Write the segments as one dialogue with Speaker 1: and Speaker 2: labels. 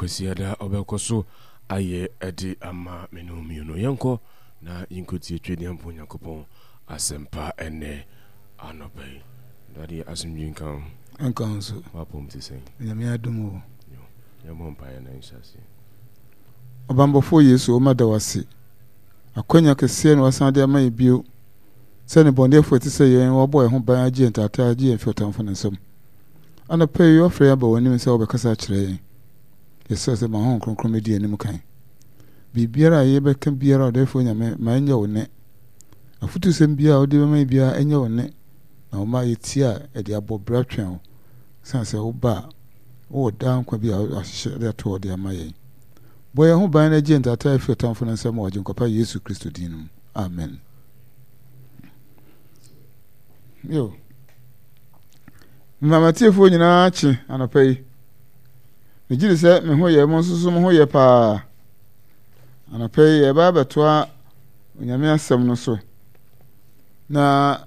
Speaker 1: Kwasiada ɔbɛkɔ so ayɛ de ama me ne wo mmienu. Yɛnkɔ na yɛnkɔtie Twedeɛmpo Nyankopɔn asɛmpa ɛnnɛ anɔpa yi. Dade asomdwe nka wo.
Speaker 2: Nka wo nso.
Speaker 1: W'apɔm te sɛn?
Speaker 2: Nyame adom o.
Speaker 1: Yo, yɛmmɔ mpaeɛ na yɛnhyɛ aseɛ.
Speaker 2: Ɔbanbɔfoɔ Yesu, wo ma da wo ase. Akwanya kɛseɛ na wasan de ama yɛn bio sɛ nnebɔneyɛfoɔ a ɛte sɛ yɛn wabɔ yɛn ho ban agye yɛn taataa agye yɛn fi ɔtamfo no nsam. Anɔpa yi wafrɛ yɛn aba w'anim sɛ wobɛkasa akyerɛ yɛn. Yɛsrɛ sɛ ma Honhom Kronkron mmɛdi yɛn anim kan. Biribiara a yɛbɛka biara ɔdɛɛfoɔ Nyame ma ɛnyɛ wo nne. Afotusɛm biara a wode bɛma yɛn biara ɛnyɛ wo nne na woma yɛtie a ɛde abɔ bra twɛn wo. Ɛsiane sɛ woba a wowɔ daa nkwa bi a wahyehyɛ de ato hɔ de ama yɛn. Bɔ yɛn ho ban na gye yɛn taataa firi ɔtamfo no nsam wɔ Agyenkwa pa Yesu Kristo din no mu. Amen. Yo. Mma matiefoɔ nyinaa kye anɔpa yi. Megye di sɛ me ho yɛ, mo nso so mo ho yɛ paa. Anɔpa yi yɛba abɛtoa Onyame asɛm no so. Na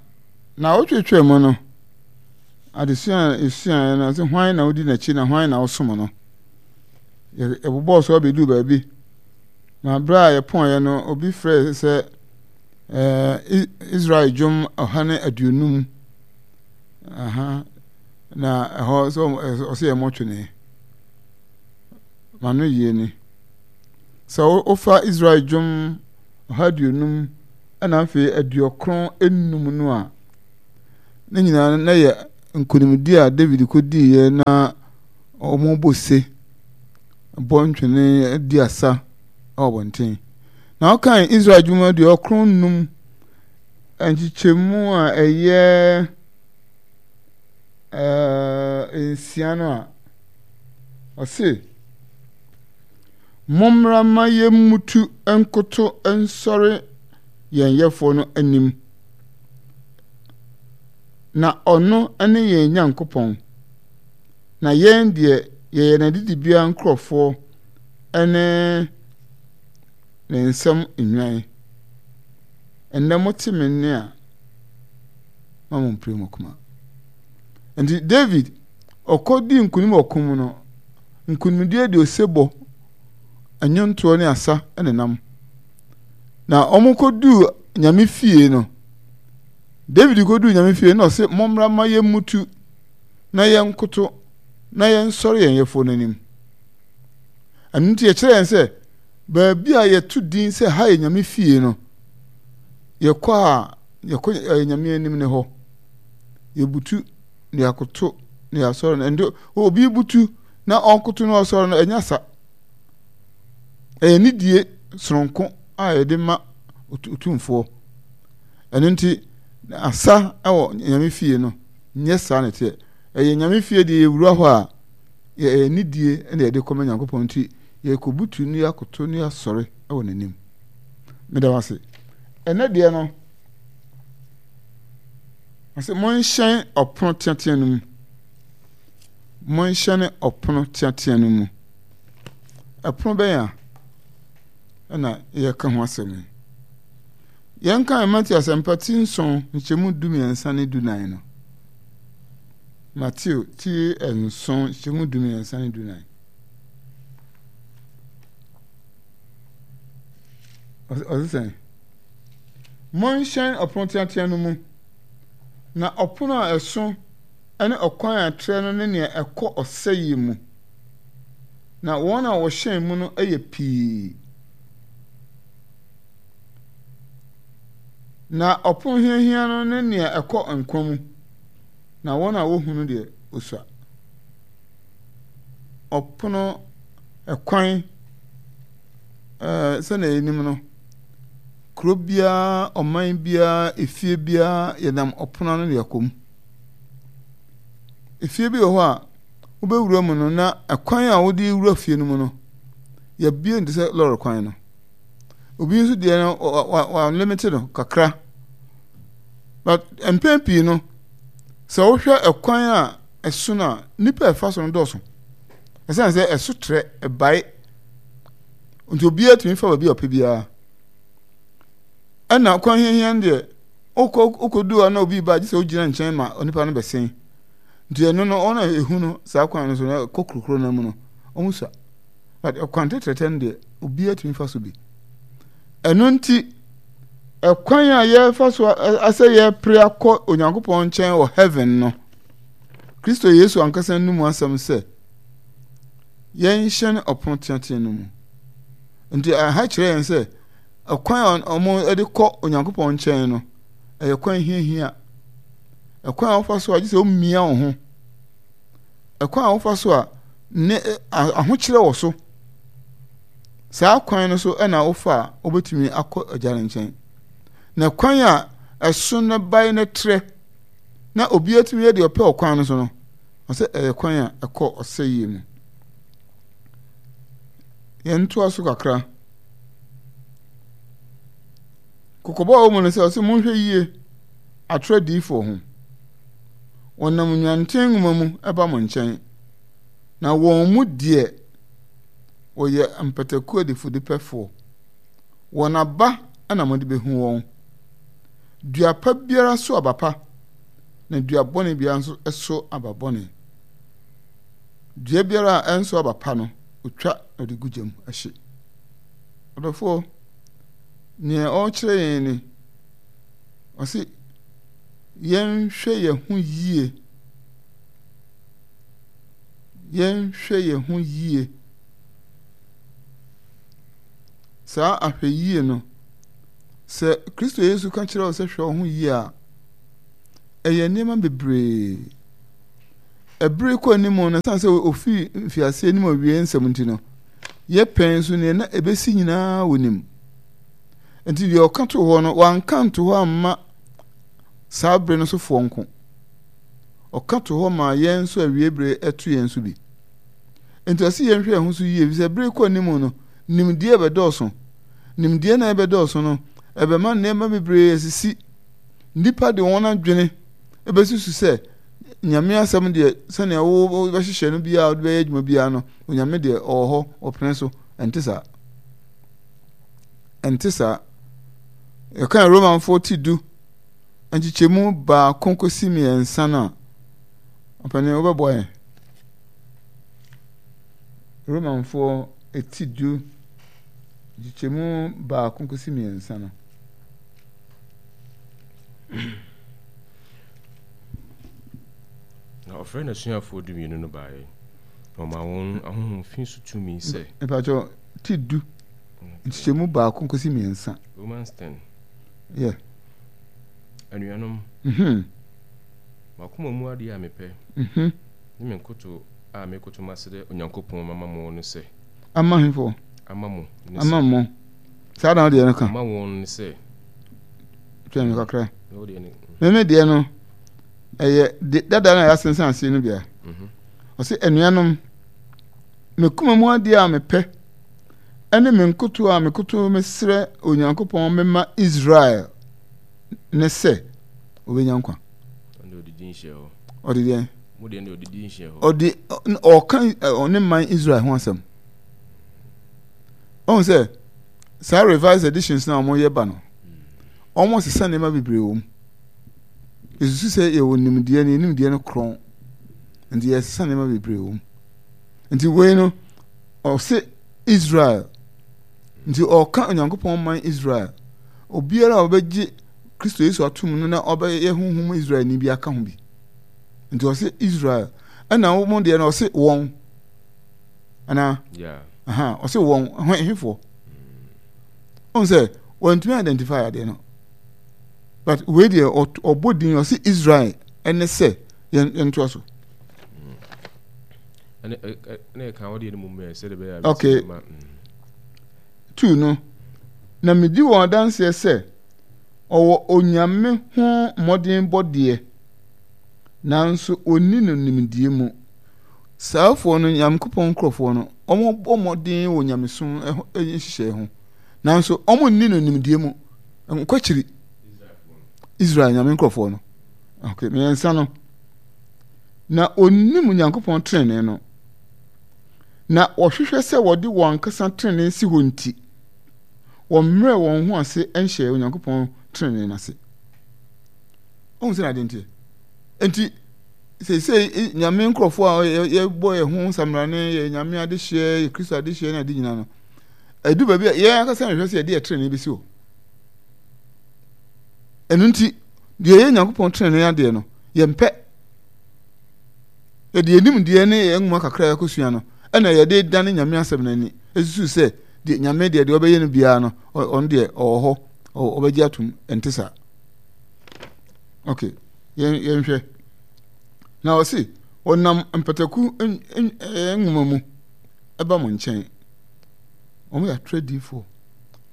Speaker 2: na wotwetwe mu no, adesua a esuaeɛ no, sɛ hwan na wodi n'akyi na hwan na wosom no. Yɛbobɔɔ so abɛduu baabi. Na berɛ a yɛpɔeɛ no, obi frɛɛ sɛ ɛɛ Israel dwom 150. Aha. Na ɛhɔ sɛ ɔsɛ yɛ mmɔtwene. Ma no yie ni. Sɛ wofa Israel dwom 150 ɛna afei 95 no a, ne nyinaa na yɛ nkonimdi a David kɔdiiɛ na wɔbɔ se, bɔ ntwene di asa wɔ abɔnten. Na wokan Israel dwom 95 nkyekyɛmu a ɛyɛ 6 no a, ɔse, Mommra mma yɛmmutu nkoto nsɔre yɛn Yɛfoɔ no anim, na ɔno ne yɛn Nyankopɔn, na yɛn deɛ yɛyɛ n'adidibea nkurɔfoɔ ne ne nsam nnwan. Ɛnnɛ mote me nne a, ma mo mpire mo koma. Nti David, ɔkɔdii nkonim wɔ ɔko mu no, nkonimdie de osebɔ, nnwontoɔ ne asa nenam. Na wɔkɔduu Nyame fie no, David kɔduu Nyame fie no na ɔse, mommra ma yɛmmutu na yɛnkoto na yɛnsɔre yɛn yɛfoɔ no anim. Ɛno nti yɛkyerɛ yɛn sɛ baabi a yɛto din sɛ ha yɛ Nyame fie no, yɛkɔ a yɛkɔ ɛyɛ Nyame anim ne hɔ. Yɛbutu na yɛakoto na yɛasɔre no. Ɛnde obi butu na ɔnkoto na ɔsɔre no ɛnyɛ sa. Ɛyɛ nidie soronko a yɛde ma otumfoɔ. Ɛno nti asa wɔ Nyame fie no nyɛ saa na ɛteɛ. Ɛyɛ Nyame fie deɛ yɛwura hɔ a ɛyɛ nidie na yɛde kɔma Nyankopɔn nti yɛkɔbutu na yɛakoto na yɛasɔre wɔ n'anim. Meda wo ase. Ɛnɛ deɛ no, ɔsɛ monhyɛn ɔpono teatea no mu. Monhyɛne ɔpono teatea no mu. Ɛpono bɛn a ɛna yɛka ho asɛm yi? Yɛnkan Mateo asɛmpa ti 7 nkyɛmu 13 ne 14 no. Mateo ti 7 nkyɛmu 13 ne 14. Ɔse sɛn? Monhyɛn ɔpono teatea no mu, na ɔpono a ɛso ne ɔkwan a ɛtrɛ no ne nea ɛkɔ ɔsɛeɛ mu, na wɔn a wɔhyɛn mu no yɛ pii. Na ɔpono hiahia no ne nea ɛkɔ nkwa mu, na wɔn a wohu no deɛ, osua. Ɔpono, ɛkwan, ɛɛ sɛnea yɛnim no, kuro biara, ɔman biara, efie biara, yɛnam ɔpono ano na yɛkɔ mu. Efie bi wɔ hɔ a, wobɛwura mu no na ɛkwan a wode wura fie no mu no, yɛabue no te sɛ lɔre kwan no. Obi nso deɛ no, wɔalimite no kakra. But mpɛn pii no, sɛ wohwɛ ɛkwan a ɛso no a, nnipa a ɛfa so no dɔɔso. Ɛsiane sɛ ɛso trɛ, ɛbae. Nti obiara tumi fa baabi a ɔpɛ biara. Ɛna kwan hiahia no deɛ, wokɔ wokɔdu hɔ na obi ba gye sɛ wogyina nkyɛn ma onipa no bɛsen. Nti ɛno no, wɔn a ɛhu no saa kwan no so no, ɛkɔ kurokuro no mu no, wɔn sua. But ɛkwan tɛtrɛtɛ no deɛ, obiara tumi fa so bi. Ɛno nti, ɛkwan a yɛfa so asɛ yɛpere akɔ Onyankopɔn nkyɛn wɔ heaven no, Kristo Yesu ankasa no mu asɛm sɛ, yɛnhyɛn ɔpono teatea no mu. Nti ɛha kyerɛ yɛn sɛ, ɛkwan a wɔde kɔ Onyankopɔn nkyɛn no, ɛyɛ kwan hiahia. Ɛkwan a wofa so a gye sɛ womia wo ho. Ɛkwan a wofa so a ne ahokyerɛ wɔ so. Saa kwan no so na wofa a wobɛtumi akɔ agya no nkyɛn. Na kwan a ɛso no bae no trɛ na obi atumi yɛ deɛ ɔpɛ wɔ kwan no so no, ɔsɛ ɛyɛ kwan a ɛkɔ ɔsɛeɛ mu. Yɛntoa so kakra. Kɔkɔbɔ a ɛwɔ mu no sɛ ɔsɛ monhwɛ yie atorɔ adiyifoɔ ho. Wɔnam nnwanten nwoma mu ba mo nkyɛn, na wɔn mu deɛ wɔyɛ mpataku adifudepɛfoɔ. Wɔn aba na mode bɛhu wɔn. Dua pa biara so aba pa, na dua bɔne biara nso so aba bɔne. Dua biara a ɛnso aba pa no, ɔtwa na ɔde gu gya mu hye. Ɔdɔfoɔ, nea ɔrekyerɛ yɛn ni, ɔse yɛnhwɛ yɛn ho yie, yɛnhwɛ yɛn ho yie. Saa ahwɛyie no, sɛ Kristo Yesu ka kyerɛ wo sɛ hwɛ wo ho yie a, ɛyɛ nneɛma bebree. Ɛbere kɔ anim no, ɛsiane sɛ ofii mfiaseɛ anim awie nsɛm nti no, yɛ pɛn nso nea na ɛbɛsi nyinaa wɔnim. Nti deɛ ɔka too hɔ no, wanka nto hɔ amma saa bere no sofoɔ nko. Ɔka too hɔ maa yɛn nso awie bere ɛto yɛn nso bi. Nti ɔse yɛnhwɛ yɛn ho so yie, efisɛ bere kɔ anim no, nimdeɛ bɛdɔɔso. Nimdeɛ na ɛbɛdɔɔso no, ɛbɛma nneɛma bebree asisi. Nnipa de wɔn adwene ɛbɛsusu sɛ Nyame asɛm deɛ sɛnea wobɛhyehyɛ no biara wode bɛyɛ adwuma biara no, Onyame deɛ ɔwɔ hɔ, ɔpene so. Ɛnte saa. Ɛnte saa. Yɛkan Romanfoɔ ti du nkyekyɛmu baako kɔsi mmiɛnsa no a, ɔpanin wobɛboa yɛn. Romanfoɔ ti du nkyekyɛmu baako kɔsi mmiɛnsa no.
Speaker 1: Na ɔfrɛɛ n'asuafoɔ dumienu no baeɛ, na ɔmaa wɔn ahonhom fi so tumi sɛ.
Speaker 2: Mpakyɛw, ti du, nkyekyɛmu baako kɔsi mmiɛnsa.
Speaker 1: Romans 10.
Speaker 2: Yeah.
Speaker 1: Anuanom,
Speaker 2: mm-hmm.
Speaker 1: M'akoma mu adeɛ a mepɛ,
Speaker 2: mm-hmm.
Speaker 1: ne me nkoto a mekoto masrɛ Onyankopɔn mama mo ne sɛ.
Speaker 2: Ama hefo?
Speaker 1: Ama mo.
Speaker 2: Ne Ama mo. Saa na wodeɛ no ka.
Speaker 1: Ama wɔn ne sɛ.
Speaker 2: Twɛn me kakra. Meme deɛ no, ɛyɛ dada na yɛasensan aseɛ no bia. Mhm. Ɔse anuanom, me koma mu adeɛ a mepɛ ɛne me nkoto a mekoto mesrɛ Onyankopɔn mema Israel ne sɛ obɛnya nkwa. Ɔde deɛ? Ɔde ɔka ɔne man Israel ho asɛm. Ɔhu sɛ saa revised editions na wɔyɛ ba no, wɔsesa nneɛma bebree wɔ mu. Yɛsusu sɛ yɛwɔ nimdeɛ no, yɛn nimdeɛ no korɔn. Nti yɛsesa nneɛma bebree wɔ mu. Nti wei no, ɔse Israel. Nti ɔka Onyankopɔn man Israel. Obiara a ɔbɛgye Kristo Yesu atom no na ɔbɛyɛ honhom Israelni bi aka ho bi. Nti ɔse Israel. Ɛna wɔn deɛ no ɔse wɔn. Anaa?
Speaker 1: Yeah.
Speaker 2: Aha, ɔse wɔn, hefoɔ. Ɔn sɛ, wɔntumi identify adeɛ no. But wei deɛ ɔbɔ din ɔse Israel ɛne sɛ yɛn yɛntoa so. Okay. Tu no. Na medi wɔn adanseɛ sɛ ɔwɔ Onyame ho mmɔdenbɔ deɛ, nanso ɔnni no nimdeɛ mu. Saafoɔ no, Nyankopɔn nkorɔfoɔ no, wɔbɔ mmɔden wɔ nyamesom nhyehyɛe ho, nanso wɔnni no nimdeɛ mu. Nkwakyiri. Israel nyame nkurɔfoɔ no. Okay, mmiɛnsa no. Na onim Onyankopɔn trenee no. Na wɔhwehwɛ sɛ wɔde wɔn ankasa trenee si hɔ nti, wɔmmrɛ wɔn ho ase nhyɛ Onyankopɔn trenee no ase. Ɔhu sɛ n'ade nteɛ. Nti, Seesei Nyame nkurɔfoɔ a yɛbɔ yɛn ho nsamrane, yɛ Nyame adehyeɛ, yɛ Kristo adehyeɛ ne ade nyinaa no, ɛdu baabi a yɛn ankasa nhwɛ sɛ yɛde yɛ trenee bɛsi hɔ. Ɛno nti, deɛ ɛyɛ Nyankopɔn trenee adeɛ no, yɛmpɛ. Yɛde yɛn nimdeɛ ne yɛn nwoma kakra a yɛakɔsua no, ɛna yɛde dane Nyame asɛm no ani, ɛsusu sɛ deɛ Nyame deɛ deɛ ɔbɛyɛ no biara no, ɔno deɛ ɔwɔ hɔ, ɔbɛgye atom. Ɛnte saa. Okay, yɛn yɛnhwɛ. Na ɔse, wɔnam mpataku nwoma mu ɛba mo nkyɛn. Wɔn yɛ atorɔ adiyifoɔ.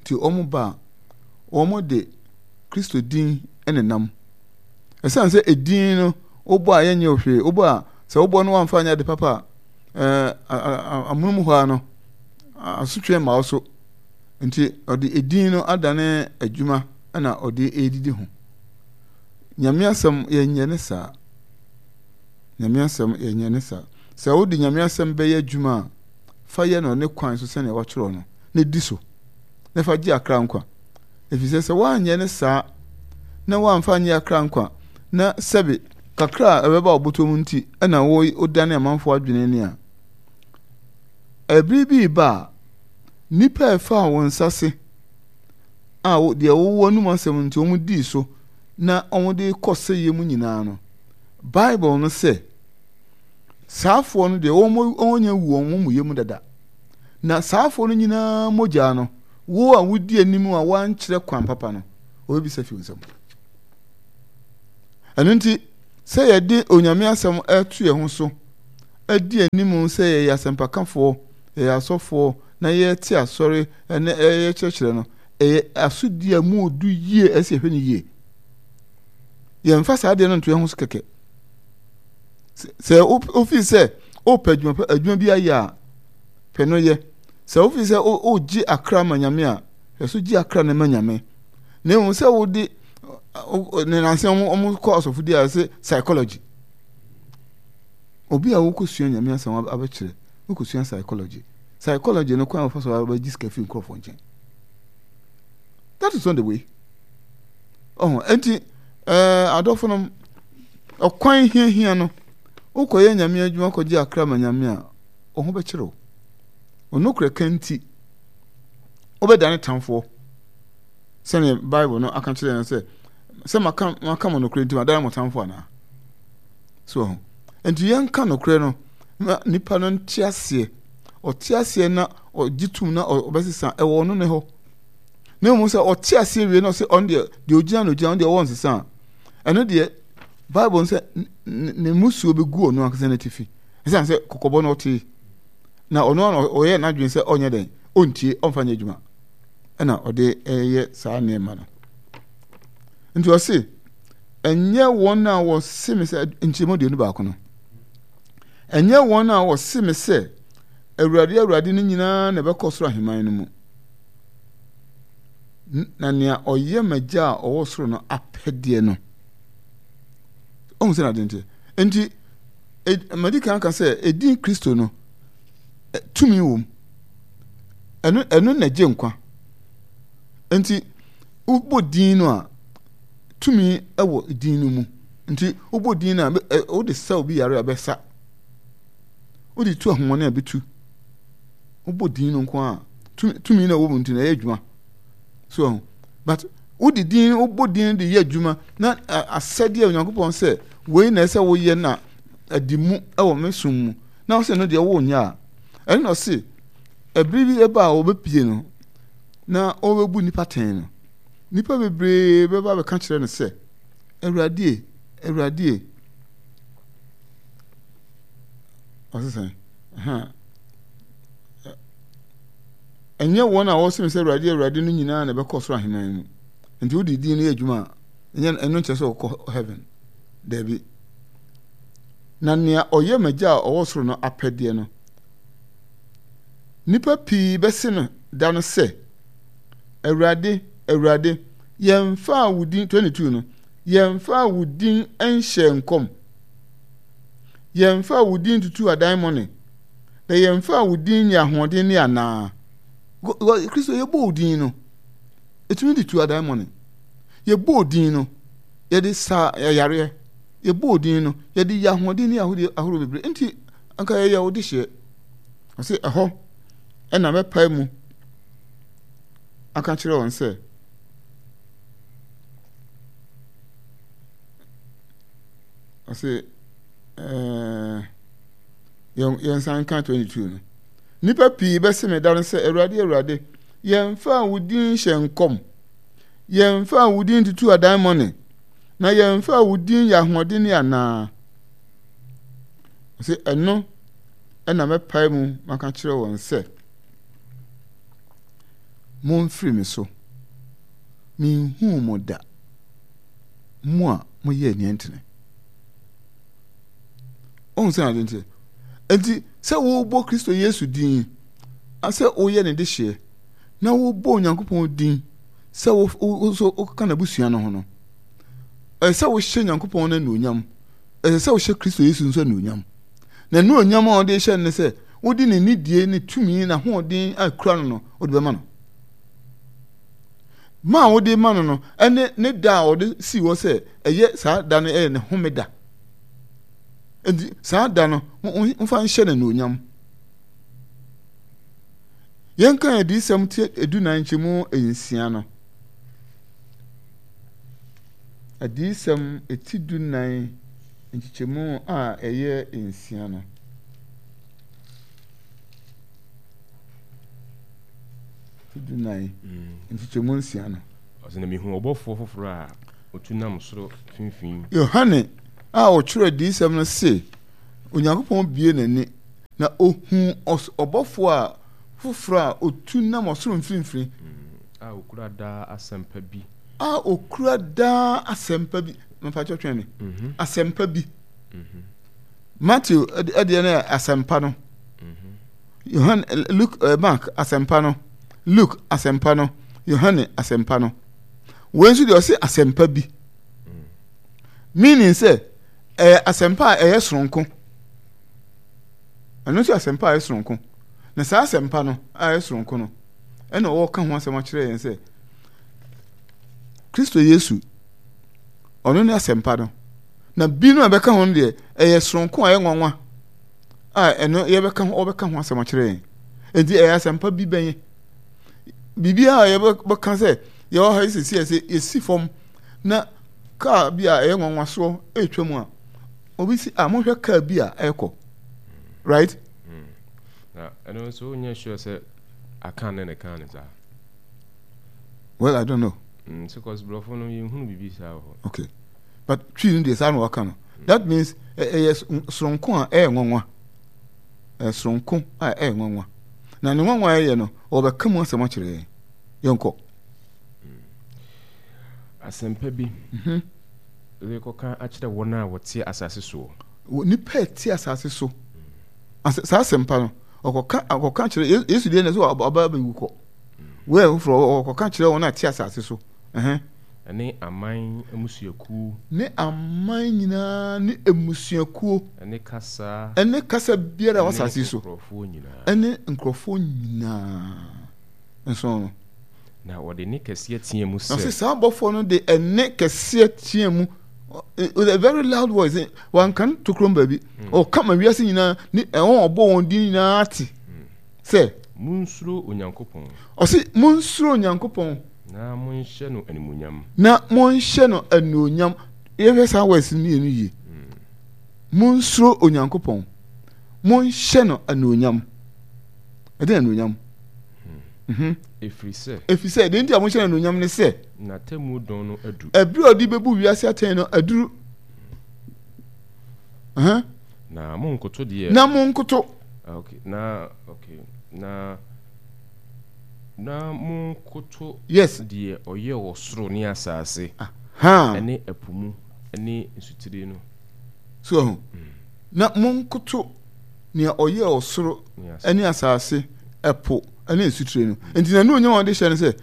Speaker 2: Nti wɔn ba a, wɔn de Kristo din nenam. Ɛsiane sɛ edin no wobɔ a yɛnyɛ wo hwee, wobɔ a sɛ wobɔ no wamfa anyɛ ade papa a, ɛɛ amonom hɔ ara no asotwe mma wo so. Nti ɔde edin no adane adwuma na ɔde redidi ho. Nyame asɛm yɛnyɛ ne saa. Nyame asɛm yɛnyɛ ne saa. Sɛ wode Nyame asɛm bɛyɛ adwuma a, fa yɛ no ne kwan so sɛnea wɔatwerɛ no, na di so, na fa gye akra nkwa. Efisɛ sɛ woanyɛ ne saa na woamfa anyɛ akra nkwa, na sɛbe kakra a ɛbɛba wo bɔtɔ mu nti na wodane amanfoɔ adwene ni a, ɛbere bi reba a, nnipa a ɛfaa wo nsa se a deɛ wowɔ anom asɛm nti wɔn dii so na wɔde kɔ sɛyɛ mu nyinaa no, Bible no sɛ, saafoɔ no deɛ wɔn wɔnyɛ wu wɔn amumuyɛ mu dada. Na saafoɔ no nyinaa mogya no, wo a wodi anim a woankyerɛ kwan papa no, wɔbɛbisa fi wo nsam. Ɛno nti, sɛ yɛde Onyame asɛm ɛto yɛn ho so adi anim sɛ yɛyɛ asɛmpakafoɔ, yɛyɛ asɔfoɔ, na yɛte asɔre ne yɛkyerɛkyerɛ no, ɛyɛ asodi a mu odu yie ɛsɛ yɛhwɛ no yie. Yɛmfa saa adeɛ no nto yɛn ho so kɛkɛ. Sɛ wofi sɛ wopɛ adwuma pɛ adwuma bi ayɛ a, pɛ no yɛ. Sɛ wofi sɛ wogye akra ma Nyame a, hwɛ so gye akra no ma Nyame. Na mmom sɛ wode ne nanse wɔn kɔ asɔfodi a ɛsɛ psychology. Obi a wokɔsua Nyame asɛm abɛkyerɛ, wokɔsua psychology. Psychology no kwan a wɔfa so abɛgye sika firi nkurɔfoɔ nkyɛn. That is not the way. Ɔho, enti ɛɛ adɔfo nom, ɔkwan hiahia no, wokɔyɛ Nyame adwuma kɔgye akra ma Nyame a, wo ho bɛkyerɛ wo. Onokorɛ ka nti, wobɛdane tamfoɔ. Sɛdeɛ Bible no aka kyerɛ yɛn sɛ, sɛ maka maka mo nokorɛ nti madane mo tamfo anaa? So ho. Enti yɛnka nokorɛ no ma nipa no nte aseɛ. Ɔte aseɛ na ɔgye tum na ɔbɛsesa ɛwɔ ɔno ne hɔ. Na mmom sɛ ɔte aseɛ wie na ɔsɛ ɔno deɛ deɛ ɔgyina no ɔgyina ɔno deɛ ɔwɔ nsesa a, ɛno deɛ Bible no sɛ ne mmusuo bɛgu ɔno ankasa n'atifi. Ɛsiane sɛ kɔkɔbɔ no ɔtee na ɔno ara ɔyɛ n'adwene sɛ ɔnyɛ dɛn ɔntie ɔmfa nyɛ adwuma ɛna ɔde ɛyɛ saa nneɛma no. Nti ɔse ɛnyɛ wɔn a wɔse me sɛ nkyɛmu 21 no ɛnyɛ wɔn a wɔse me sɛ Awurade Awurade no nyinaa na ɛbɛkɔ soro ahemman no mu. Na nea ɔyɛ m'agya a ɔwɔ soro no apɛdeɛ no. Ɔhu sɛ n'ade nteɛ. Nti, madi kan aka sɛ edin Kristo no, tumi wom. Ɛno ɛno na ɛgye nkwa. Nti, wobɔ din no a, tumi wɔ din no mu. Nti, wobɔ din no a, wode sa obi yare a ɛbɛsa. Wode tu ahomɔne a ɛbɛtu. Wobɔ din no nko a, tumi na ɛwɔ mu nti na ɛyɛ adwuma. So ɛho. But wode din wobɔ din de yɛ adwuma na asɛdeɛ a Onyankopɔn sɛ wei na ɛsɛ woyɛ na adi mu wɔ me som mu na wosɛ no deɛ wonyɛ a ɛno na ɔse ɛbere bi ɛba a wɔbɛpie no na wɔbɛbu nnipa tɛn no nnipa bebree bɛba bɛka kyerɛ no sɛ Awurade Awurade ɔse sɛn Ɛnyɛ wɔn a wɔsem sɛ Awurade, Awurade no nyinaa na ɛbɛkɔ ɔsoro ahemman mu. Nti wode din no yɛ adwuma a, ɛnyɛ ɛno nkyerɛ sɛ wɔkɔ heaven. Dabi. Na nea ɔyɛ m'agya a ɔwɔ soro no apɛdeɛ no, nnipa pii bɛse no da no sɛ, Awurade, Awurade, yɛmfaa wo din, 22 no, yɛmfaa wo din nhyɛɛ nkɔm, yɛmfaa wo din tutuu adaemone, na yɛmfaa wo din nyɛ ahoɔdenne anaa? Kristo, yɛbɔ wo din no, ɛtumi de tu adaemone. Yɛbɔ wo din no, yɛde sa yareɛ. yɛbɔɔ din no, yɛde yɛ ahoɔden ne ahodeɛ ahorow bebree, nti anka yɛyɛ wo dehyeɛ. Ɔse ɛhɔ ɛna mɛpae mu aka kyerɛ wɔn sɛ, ɔse ɛɛ yɛn yɛnsan nka 22 no. Nnipa pii bɛse me da no sɛ, Awurade, Awurade, yɛmfaa wo din nhyɛ nkɔm, yɛmfaa wo din ntutu adaemone, na yɛmfaa wo din yɛ ahoɔdenne anaa? Ɔse ɛno ɛna mɛpae mu maka kyerɛ wɔn sɛ, Momfiri me so, menhuu mo da, mo a moyɛ nea ɛntene. Ɔhu sɛ ade nti. Enti sɛ wobɔ Kristo Yesu din, sɛ woyɛ ne dehyeɛ, na wobɔ Onyankopɔn din sɛ wo nso woka n'abusua no ho no, ɛsɛ sɛ wohyɛ Nyankopɔn no anuonyam. Ɛsɛ sɛ wohyɛ Kristo Yesu nso anuonyam. Na anuonyam a wɔde hyɛ no ne sɛ wode ne nidie ne tumi n'ahoɔden a kura no no wode bɛma no. Ma a wode ma no no ɛne ne da a ɔde sii hɔ sɛ ɛyɛ saa da no ɛyɛ ne homeda. Enti saa da no momfa nhyɛ no anuonyam. Yɛnka adiyisɛm ti edunan nkyɛmu nsia no. Adiyisɛm ti dunan nkyekyɛmu a ɛyɛ nsia no. Ti dunan nkyekyɛmu nsia no.
Speaker 1: Ɔsɛ na mihu ɔbɔfoɔ foforɔ a otu nam soro mfimfini.
Speaker 2: Yohane a ɔtwerɛ adiyisɛm no se Onyankopɔn bue n'ani na ohuu ɔbɔfoɔ a foforɔ a otu nam ɔsoro mfimfini.
Speaker 1: A okura daa asɛmpa bi.
Speaker 2: A okura daa asɛmpa bi. Mepa kyɛw twɛn me. Asɛmpa bi. Matthew ɛdeɛ no yɛ asɛmpa no. Yohane Luke Mark asɛmpa no. Luke asɛmpa no. Yohane asɛmpa no. Wei nso deɛ ɔse asɛmpa bi. Meaning sɛ ɛyɛ asɛmpa a ɛyɛ soronko. Ɛno nso asɛmpa a ɛyɛ soronko. Na saa asɛmpa no a ɛyɛ soronko no, ɛna ɔreka ho asɛm akyerɛ yɛn sɛ Kristo Yesu, ɔno ne asɛmpa no. Na bi no a ɛbɛka ho no deɛ, ɛyɛ soronko a ɛyɛ nwanwa a ɛno yɛbɛka ho ɔbɛka ho asɛm akyerɛ yɛn. Enti ɛyɛ asɛmpa bi bɛn? Biribiara a yɛbɛka sɛ yɛwɔ ha yi sisi ɛsɛ yɛsi fam na kaa bi a ɛyɛ nwanwasoɔ ɛretwa mu a, obi si a monhwɛ kaa bi a ɛrekɔ right.
Speaker 1: Mm. Na ɛno nso wonyɛ sure sɛ akan ne ne kan ne saa.
Speaker 2: Well, I don't know.
Speaker 1: Mm, so cause brɔfo no yɛnhunu biribi saa wɔ hɔ.
Speaker 2: Okay. But twi no deɛ saa na wɔka no. Mm. That means ɛyɛ soronko a ɛyɛ nwanwa. Ɛyɛ soronko a ɛyɛ nwanwa. Na ne nwanwa a ɛyɛ no, wɔbɛka mu asɛm akyerɛ yɛn. Yɛnkɔ.
Speaker 1: Mm. Asɛmpa bi mhm. rekɔka akyerɛ wɔn a wɔte asase soɔ.
Speaker 2: Nnipa a ɛte asase so. Saa asɛmpa no, ɔkɔka ɔkɔka kyerɛ Yesu deɛ na sɛ ɔba abɛwu kɔ. Wei foforɔ ɔkɔka kyerɛ wɔn a ɛte asase so.
Speaker 1: Ɛne aman mmusuakuo.
Speaker 2: Ne aman nyinaa ne mmusuakuo.
Speaker 1: Ɛne kasa.
Speaker 2: Ɛne kasa biara wɔ asase so.
Speaker 1: Ɛne nkurɔfoɔ nyinaa.
Speaker 2: Ɛne nkurɔfoɔ nyinaa nso no.
Speaker 1: Na wɔde nne kɛseɛ teaa mu sɛ.
Speaker 2: Na ɔse saa abɔfoɔ no de ɛnne kɛseɛ teaa mu with a very loud voice wanka no tokurom baabi hmm. ɔka ma wiase nyinaa ne ɛwɔn ɔbɔ wɔn din nyinaa te hmm. sɛ.
Speaker 1: Monsuro Onyankopɔn.
Speaker 2: Ɔse monsuro Onyankopɔn.
Speaker 1: Na monhyɛ no animuonyam.
Speaker 2: Na monhyɛ no animuonyam. Yɛhwɛ saa words mmienu yie. Hmm. Monsuro Onyankopɔn. Monhyɛ no animuonyam. Ɛdɛn anuonyam?
Speaker 1: Mhm. Ɛfiri sɛ.
Speaker 2: Ɛfiri sɛ, deɛ nti a monhyɛ no anuonyam ne sɛ.
Speaker 1: N'atemmuo dɔn no adu.
Speaker 2: Ɛberɛ a ɔde bɛbu wiase atɛn no aduru. Uh-huh.
Speaker 1: Na monkoto deɛ.
Speaker 2: Na monkoto.
Speaker 1: Ah, okay. Na, okay. Na, na monkoto.
Speaker 2: Yes.
Speaker 1: Deɛ ɔyɛ ɔsoro ne asase.
Speaker 2: Aha.
Speaker 1: Ɛne ɛpo mu, ɛne nsutire no.
Speaker 2: So, mm. Na monkoto. nea ɔyɛɛ ɔsoro ne asase, ɛpo ne nsutire no. Nti n'anuonyam a ɔde hyɛ no sɛ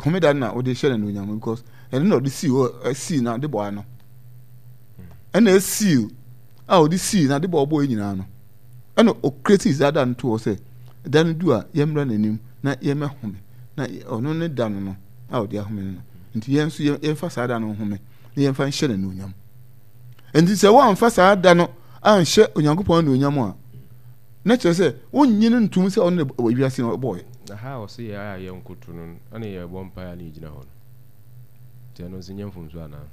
Speaker 2: homeda no na ɔde hyɛ n'anuonyam because ɛno na ɔde sii hɔ sii n'adebɔ ano. Ɛna esii a ɔde sii n'adebɔ ɔbɔɔ nyinaa no. Ɛna ɔkreti saa da no to hɔ sɛ da no du a yɛmmra n'anim na yɛmmɛhome na ɔno ne da no no a ɔde ahome no no. Nti yɛn nso yɛmfa saa da no nhome na yɛmfa nhyɛ n'anuonyam. Nti sɛ woamfa saa da no anhyɛ Onyankopɔn anuonyam a, na kyerɛ sɛ wonnye no ntom sɛ ɔno na wiase no ɔbɔeɛ.
Speaker 1: Na ha a ɔse yɛ a yɛnkoto no ɛna yɛbɔ mpaeɛ a na yɛgyina hɔ no, nti ɛno nso nyɛ mfomso anaa?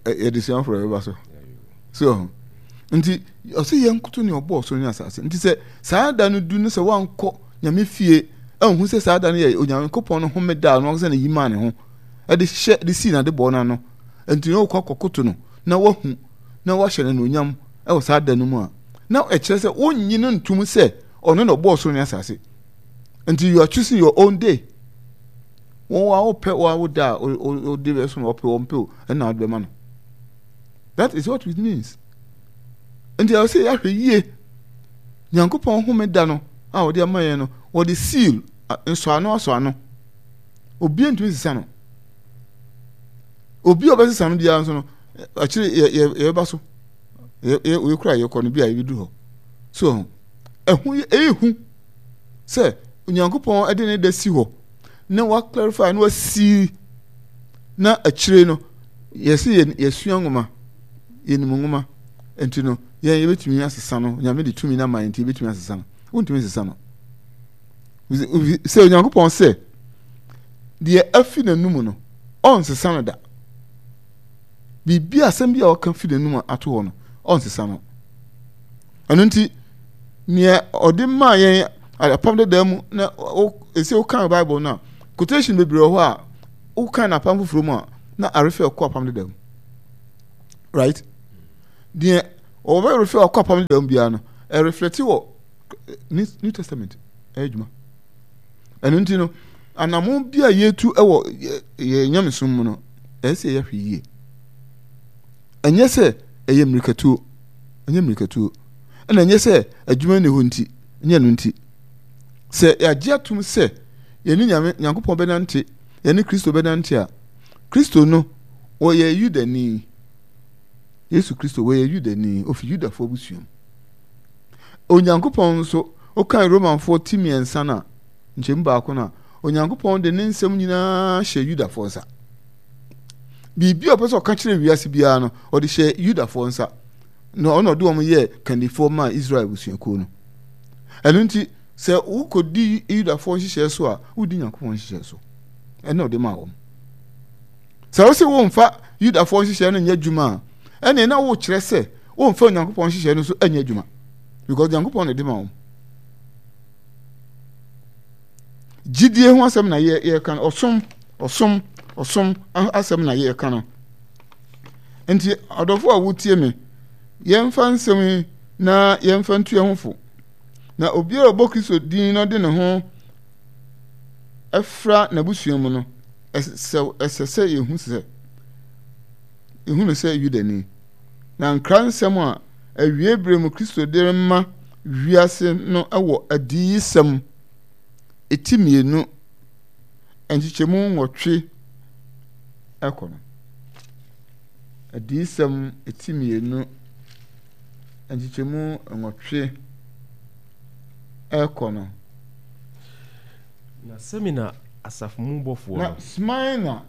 Speaker 2: Yɛde sua foforɔ bɛba so. So nti ɔse yɛnkoto nea ɔbɔɔ soro ne asase. Nti sɛ saa da no du no sɛ woankɔ Nyame fie anhu sɛ saa da no yɛ Onyankopɔn no homeda a ɔno ankasa na yi maa ne ho de hyɛ de sii n'adebɔ no ano nti na wokɔ akɔkoto no na wahu na wahyɛ no anuonyam wɔ saa da no mu a, na ɛkyerɛ sɛ wonnye no ntom sɛ ɔno na ɔbɔɔ soro ne asase. Nti you are choosing your own day. Wɔn a wopɛ wɔn a woda a wode bɛso no ɔpɛ wɔn pɛ o ɛna wode bɛma no. That is what it means. Nti ɛwɔ sɛ yɛahwɛ yie. Nyankopɔn homeda no a wɔde ama yɛn no, wɔde seal nsɔano asɔano. Obiara ntumi sesa no. Obi a ɔbɛsesa no biara nso no, akyire yɛ yɛ yɛbɛba so. Yɛ yɛ wei kora yɛkɔ no bi a yɛbɛduru hɔ. So ɛho yɛ ɛyɛ hu sɛ Onyankopɔn de ne da si hɔ na wa clarify na wasi na akyire no yɛsi yɛ yɛsua nwoma yɛnim nwoma nti no yɛn yɛbɛtumi asesa no. Nyame de tumi no ama yɛn nti yɛbɛtumi asesa no. Wontumi nsesa no. Sɛ Onyankopɔn sɛ deɛ afi n'anum no ɔnsesa no da. Biribi asɛm bi a ɔka fi n'anum ato hɔ no ɔnsesa no. Ɛno nti nea ɔde maa yɛn apam dada mu na ɛsɛ wokan Bible no a quotation bebree wɔ hɔ a wokan no apam foforɔ mu a na arefɛ ɔkɔ apam dada mu. Right? Deɛ ɔbɛrefɛ ɔkɔ apam dada mu biara no ɛreflɛte wɔ New Testament ɛyɛ adwuma. Ɛno nti no, anammɔn bi a yɛtu wɔ yɛn nyamesom mu no, ɛyɛ sɛ yɛhwɛ yie. Ɛnyɛ sɛ ɛyɛ mmirikatuo, ɛnyɛ mmirikatuo. Ɛna ɛnyɛ sɛ adwuma nni hɔ nti, ɛnyɛ no nti. Sɛ yɛagye atom sɛ yɛne Nyame Nyankopɔn bɛnante, yɛne Kristo bɛnante a, Kristo no, ɔyɛ Yudani. Yesu Kristo, wɔyɛ Yudani, ofi Yudafoɔ abusua mu. Onyankopɔn nso, wokan Romanfoɔ ti mmiɛnsa no a, nkyɛmu baako no a, Onyankopɔn de ne nsɛm nyinaa hyɛ Yudafoɔ nsa. Biribi a ɔpɛ sɛ ɔka kyerɛ wiase biara no, ɔde hyɛ Yudafoɔ nsa. Na ɔna ɔde wɔn yɛɛ kandifoɔ maa Israel abusuakuo no. Ɛno nti, sɛ wokɔdi Yudafoɔ nhyehyɛɛ so a, wodi Nyankopɔn nhyehyɛɛ so. Ɛna ɔde maa wɔn. Sɛ wose womfa Yudafoɔ nhyehyɛɛ no nyɛ adwuma a, ɛneɛ na wokyerɛ sɛ womfa Onyankopɔn nhyehyɛɛ no nso nyɛ adwuma. Because Nyankopɔn na ɛde ma wɔn. Gyidie ho asɛm na yɛka no, ɔsom, ɔsom, ɔsom asɛm na yɛka no. Nti adɔfo a wotie me, yɛmfa nsɛm yi na yɛmfa ntu yɛn ho fo. Na obiara a ɔbɔ Kristo din na ɔde ne ho fra n'abusua mu no, ɛsɛ sɛ yehu sɛ yehu no sɛ Yudani. Na nkransɛm a awiei bere mu Kristo de rema wiase no wɔ Adiyisɛm eti mmienu nkyekyɛmu nwɔtwe kɔ no. Adiyisɛm eti mmienu nkyekyɛmu nwɔtwe kɔ no.
Speaker 1: Na Semina asafo mu bɔfoɔ no.
Speaker 2: Na Smirna,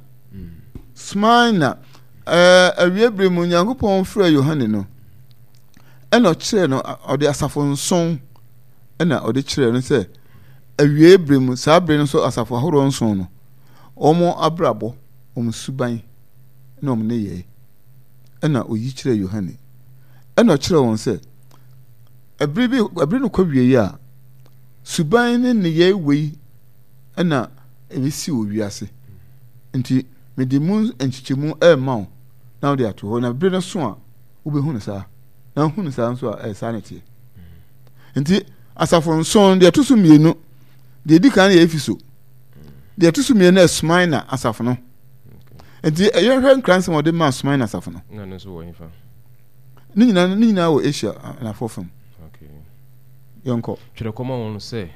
Speaker 2: Smirna, ɛɛ awie bere mu Nyankopɔn frɛɛ Yohane no, ɛna ɔkyerɛɛ no, ɔde asafo nson ɛna ɔde kyerɛɛ no sɛ awie bere mu, saa bere no nso asafo ahoroɔ nson no, wɔn abrabɔ, wɔn suban, ne wɔn nneyɛe ɛna oyi kyerɛɛ Yohane. Ɛna ɔkyerɛɛ wɔn sɛ, ɛbere bi, ɛbere no kɔ wie a, Suban ne nneyɛe wei na ɛbɛsi wɔ wiase. Nti mede mu nkyekyɛmu rema wo na wode ato hɔ na bere no so a wobɛhu no saa. Na wohu no saa nso a ɛyɛ saa na ɛteɛ. Nti asafo nson deɛ ɛto so mmienu deɛ ɛdi kan yɛ Efeso deɛ ɛto so mmienu yɛ Smyrna asafo no. Nti yɛhwɛ nkransɛm a ɔde maa Smyrna asafo no. Ne nyinaa ne nyinaa wɔ Asia anafoɔ fam. Yɛnkɔ.
Speaker 1: Twerɛ kɔma wɔn sɛ.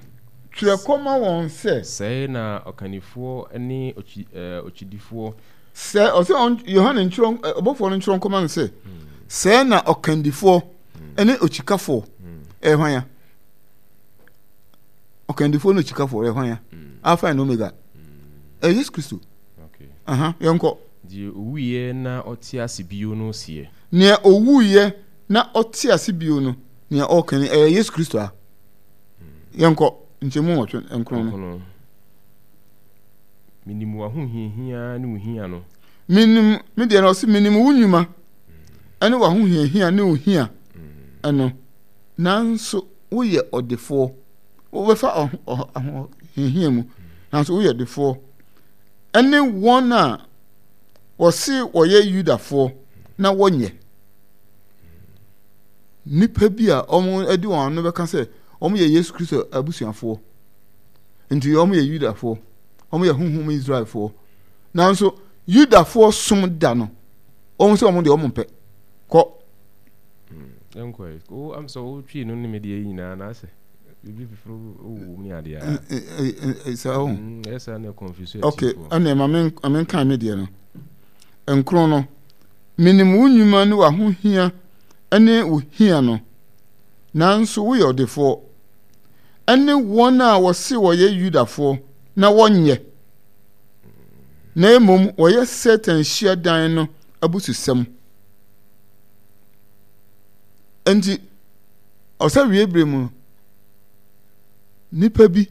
Speaker 2: Twerɛ kɔma wɔn sɛ.
Speaker 1: Sɛɛ na ɔkannifoɔ ne ɔkyi ɛɛ ɔkyidifoɔ.
Speaker 2: Sɛ ɔsɛ ɔn Yohane ntwerɛ ɔbɔfoɔ no ntwerɛ nkɔma no sɛ, sɛɛ na ɔkandifoɔ ne okyikafoɔ ɛyɛ hwan ya? Ɔkandifoɔ ne okyikafoɔ ɛyɛ hwan ya? Alpha and Omega. Ɛyɛ Yesu Kristo. Aha, yɛnkɔ.
Speaker 1: Deɛ owuiɛ na ɔte ase bio no seɛ.
Speaker 2: Nea owuiɛ na ɔte ase bio no, nea ɔreka ni, ɛyɛ Yesu Kristo a. Yɛnkɔ nkyɛmu nwɔtwe nkron no.
Speaker 1: Menim w'ahohiahia ne wo hia no.
Speaker 2: Menim, me deɛ no ɔse menim wo nnwuma ɛne w'ahohiahia ne wo hia ɛno, nanso woyɛ ɔdefoɔ. Wobɛfa ahohiahia mu, nanso woyɛ ɔdefoɔ. Ɛne wɔn a wɔse wɔyɛ Yudafoɔ na wɔnyɛ. Nnipa bi a wɔde wɔn ano bɛka sɛ wɔyɛ Yesu Kristo abusuafoɔ, nti wɔyɛ Yudafoɔ, wɔyɛ honhom Israelfoɔ. Nanso Yudafoɔ som da no, wɔn sɛ wɔn deɛ wɔn mpɛ. Kɔ.
Speaker 1: Nkɔ yi, o am sɛ wotwi no ne me deɛ nyinaa na asɛ biribi foforo wɔ mu ne adeɛ
Speaker 2: a. Saa o.
Speaker 1: Ɛyɛ saa na confuse
Speaker 2: Okay, ɛnna ma me nkan me deɛ no. Nkron no, menim wo nnwuma ne w'ahohia ne wo hia no, nanso woyɛ ɔdefoɔ, ɛne wɔn a wɔse wɔyɛ Yudafoɔ na wɔnyɛ, na mmom wɔyɛ Satan hyiadan no abususɛm. Enti, ɔsɛ wie bere mu no, nnipa bi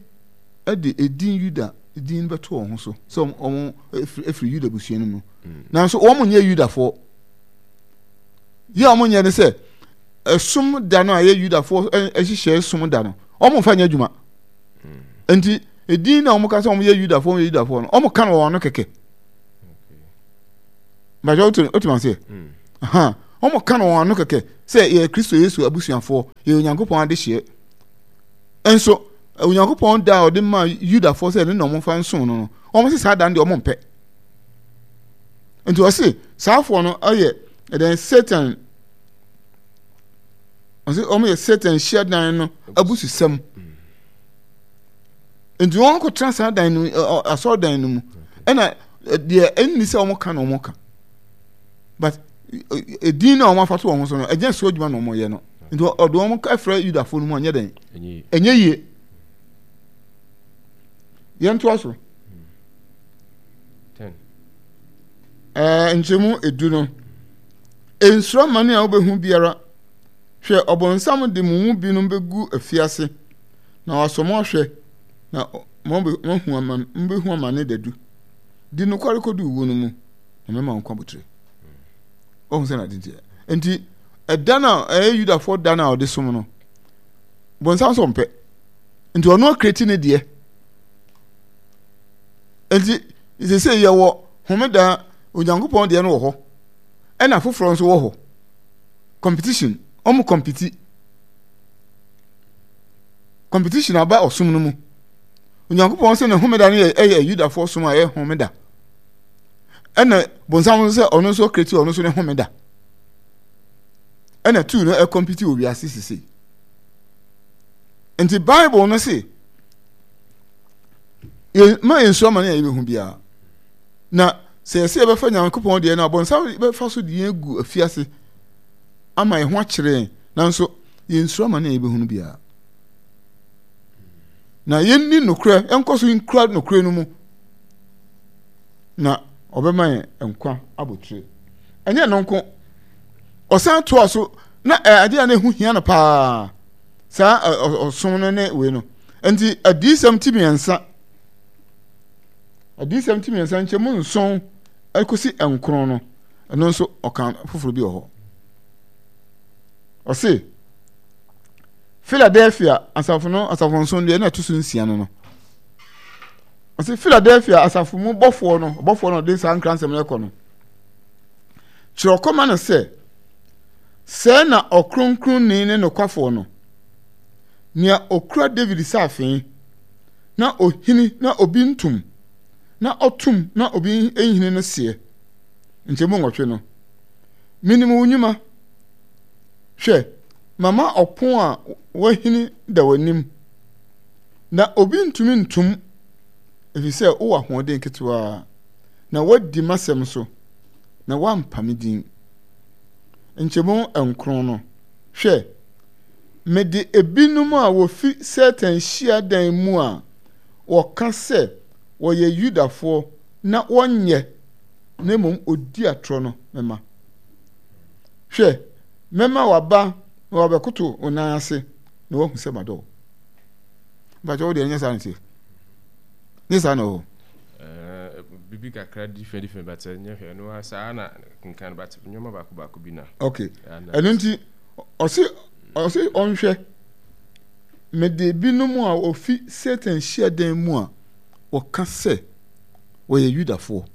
Speaker 2: de edin Yuda din bɛto wɔn ho so sɛ wɔn efiri Yuda busua no mu. Nanso wɔn nyɛ Yudafoɔ. Yɛ a wɔnyɛ ne sɛ ɛsom da no a ɛyɛ Yudafoɔ nhyehyɛe som da no, wɔmfa nyɛ adwuma. Nti edin na wɔka sɛ wɔyɛ Yudafoɔ wɔyɛ Yudafoɔ no, wɔka no wɔn ano kɛkɛ. Bàtɛ wotu wotu ma seɛ. Wɔka no wɔn ano kɛkɛ sɛ yɛ Kristo Yesu abusuafoɔ, yɛ Onyankopɔn adehyeɛ. Nso Onyankopɔn da a ɔde ma Yudafoɔ sɛ ɛno na wɔmfa nsom no no, wɔn sɛ saa da no deɛ wɔmpɛ. Nti ɔse saafoɔ no yɛ ɛdɛn Satan ɔse wɔn yɛ Satan hyiadan no abususɛm. Nti wɔn akɔtena saa dan no asɔredan no mu ɛna deɛ ɛnni sɛ wɔn ka na wɔn ka but edin na wɔn afa to wɔn ho so no ɛnyɛ so adwuma na wɔn yɛ no nti ɔde wɔn frɛ Yudafoɔ no mu anyɛ dɛn ɛnyɛ yie yɛn to aso. Ɛɛ, nkyɛmu edu no, nsuro amane a wobɛhu biara. Hwɛ, ɔbonsam de mo mu binom bɛgu afiase, na wasɔ mo ahwɛ, na moahu amane, mobɛhu amane dadu. Di nokware kɔdu wuo no mu, na mɛma wo nkwa abotire. Wahu sɛ na ade nteɛ. Nti, ɛda no a ɛyɛ Yudafoɔ da no a ɔde som no, bonsam sɛ ɔmpɛ. Nti ɔno akreti ne deɛ. Nti, sese yɛwɔ homeda Onyankopɔn deɛ no wɔ hɔ, ɛna foforɔ nso wɔ hɔ. Competition, wɔn compete. Competition aba ɔsom no mu. Onyankopɔn sɛ ne homeda no yɛ ɛyɛ Yudafoɔ som a ɛyɛ homeda. Ɛna bonsam nso sɛ ɔno nso kreti ɔno nso ne homeda. Ɛna tuu no ɛkɔmpiti wɔ wiase sese. Nti Bible no se ma yɛnsu amane a yɛbɛhu biara. Na sɛ yɛsɛ yɛbɛfa Nyankopɔn deɛ no abɔnsam bɛfa so de yɛn agu afiase ama yɛn ho akyerɛ yɛn, nanso yɛnsuro amane a yɛbɛhunu biara. Na yɛnni nokorɛ, yɛnkɔ so nkura nokorɛ no mu, na ɔbɛma yɛn nkwa abotire. Ɛnyɛ no nko, ɔsan toa so na adeɛ a na ɛho hia no paa saa ɔsom no ne wei no. Nti adiyisɛm ti mmiɛnsa, adiyisɛm ti mmiɛnsa nkyɛmu nson kɔsi nkron no, ɛno nso ɔka foforɔ bi wɔ hɔ. Ɔse, Philadelphia asafo no asafo nson deɛ ɛna ɛto so nsia no no. Ɔse Philadelphia asafo mu bɔfoɔ no, ɔbɔfoɔ no ɔde saa nkransɛm no kɔ no. Kyerɛ ɔkɔma no sɛ, sɛɛ na ɔkronkronni ne nokwafoɔ no, nea okura Dawid saafee, na ohini na obi ntom, na ɔtom na obi nhini no seɛ. Nkyɛmu nwɔtwe no, Minim wo nnwuma. Hwɛ, mama ɔpon a wɔahini da w'anim, na obi ntumi ntom, efisɛ wowɔ ahoɔden ketewaa, na woadi m'asɛm so, na woampa me din. Nkyɛmu nkron no, Hwɛ, Mede ebinom a wɔfi Satan hyiadan mu a wɔka sɛ wɔyɛ Yudafoɔ na wɔnyɛ, na mmom ɔdi atorɔ no mɛma. Hwɛ, mɛma waba na wabɛkoto wo nan ase na wahu sɛ madɔ wo. Mpakyɛ wo deɛ ɛnyɛ saa na ɛteɛ? Nyɛ saa na ɛwɔ hɔ?
Speaker 1: Bibi kakra different different but ɛnyɛ hwɛ ɛno saa na kenkan but nneɛma baako baako bi na.
Speaker 2: Okay, ɛno nti ɔse ɔse ɔnhwɛ mede binom a wɔfi Satan hyiadan mu a wɔka sɛ wɔyɛ Yudafoɔ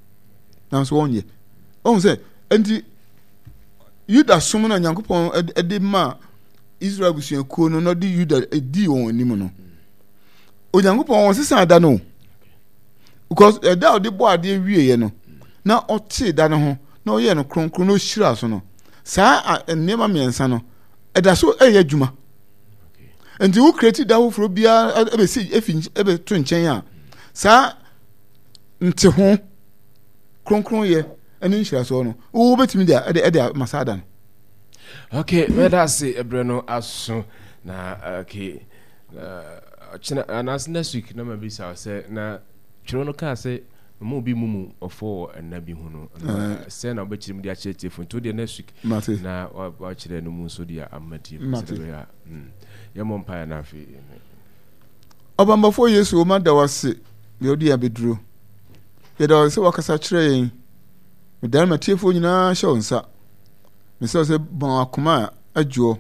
Speaker 2: nanso wɔnyɛ. Ɔhu sɛ nti Yuda som no a Nyankopɔn de maa Israel abusuakuo no na ɔde Yuda dii wɔn anim no, Onyankopɔn wɔn sesa da no because ɛda a ɔde bɔ adeɛ wieɛ no na ɔtee da no ho na ɔyɛɛ no kronkron na ɔhyiraa so no, saa nneɛma mmiɛnsa no ɛda so ɛyɛ adwuma. Nti wo create da foforɔ biara ɛbɛsi efi ɛbɛto nkyɛn a saa nte ho kronkronyɛ ne nhyirasoɔ no wobɛtumi de ɛde ɛde ama saa da no.
Speaker 1: Okay, mɛda ase ɛberɛ no aso na okay ɔkyena anaasɛ next week na mabisa sɛ na twerɛ no kaa sɛ mma obi mmu mu ɔfɔ wɔ nna bi ho no sɛ na wobɛkyerɛ mu de akyerɛ tiefo nti wodeɛ next week na wakyerɛ no mu nso de ama tiefo sɛ ɛbɛyɛ a yɛmmɔ mpaeɛ no afei.
Speaker 2: Ɔbambɔfoɔ Yesu, wo da wo ase deɛ wode yɛn abɛduro. Yɛda wo ase sɛ wakasa kyerɛ yɛn. Medane m'atiefoɔ nyinaa hyɛ wo nsa. Mesrɛ wo sɛ bɔn wɔn akoma a adwoɔ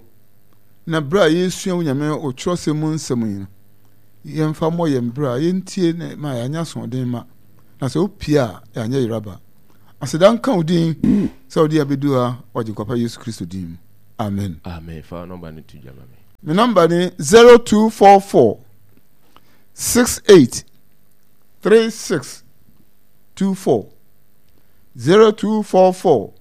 Speaker 2: na berɛ a yɛresua wo Nyame wo twerɛsɛm mu nsɛm yi no, yɛmfa mmɔ yɛn berɛ a yɛntie na ma yɛanyɛ asoɔden ma, na sɛ wopie a yɛanyɛ yeraba. Aseda nka wo din sɛ wode yɛn abɛdu ha wɔ Agyenkwa pa Yesu Kristo din mu. Amen.
Speaker 1: Amen. Fa nɔmba no to dwa ma me.
Speaker 2: Me nɔmba ne 0244 68 36 24 0244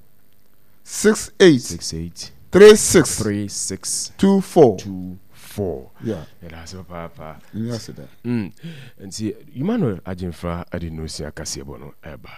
Speaker 2: 68
Speaker 1: 68
Speaker 2: 36
Speaker 1: 36
Speaker 2: 24
Speaker 1: 24.
Speaker 2: Yeah.
Speaker 1: Yɛda ase papaapa.
Speaker 2: Ɛnyɛ ase da.
Speaker 1: Nti Emmanuel Agyemfra de no si akaseɛbɔ no ɛba.